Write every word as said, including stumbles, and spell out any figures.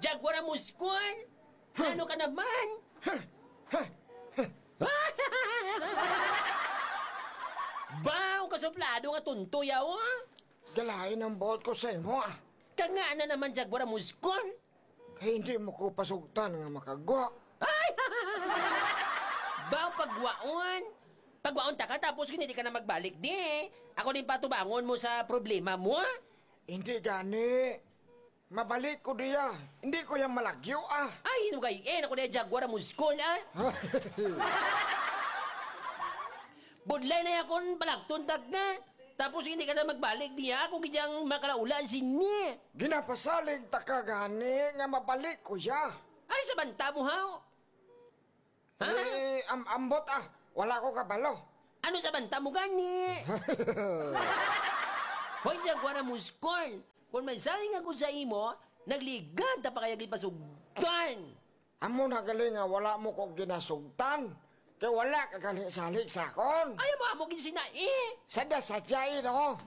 Jaguar Muskol? Ano ka naman? Baw, kasuplado nga tunto yaw, ah. Galain ang buot ko sa imo, ah. Kangana naman, Jaguar Muskol? Kay hindi mo ko pasugtan nga makagwa. Ay! Baw, pagwaon. Pagwaon ta ka, tapos hindi ka na magbalik di. Ako din patubangon mo sa problema mo, ah. Hindi gani. Mabalik ko diya. Hindi ko yang malagyo, ah. Ay, hinugay, eh, ako na Jaguar Muskol, ah. Budlay na yakon palagton tag na. Tapos hindi ka na magbalik diya. Ako gid ang makalaula sini. Ginapasalig ta ka gani nga mabalik ko ya. Ay, sa banta mo, haw? Ha? Eh, am-, ambot, ah. Wala ko kabalo. Ano sa banta mo gani? Hoy, Jaguar Muskol. Kung may saling ako sa imo, nagligad ta pa kaya gid pasugtan. Amo na gali nga wala mo ko ginasugtan. Kay wala ka gani salig sa akon. Ay, amo, amo gid sina, eh. Sadya-sadya, eh, no?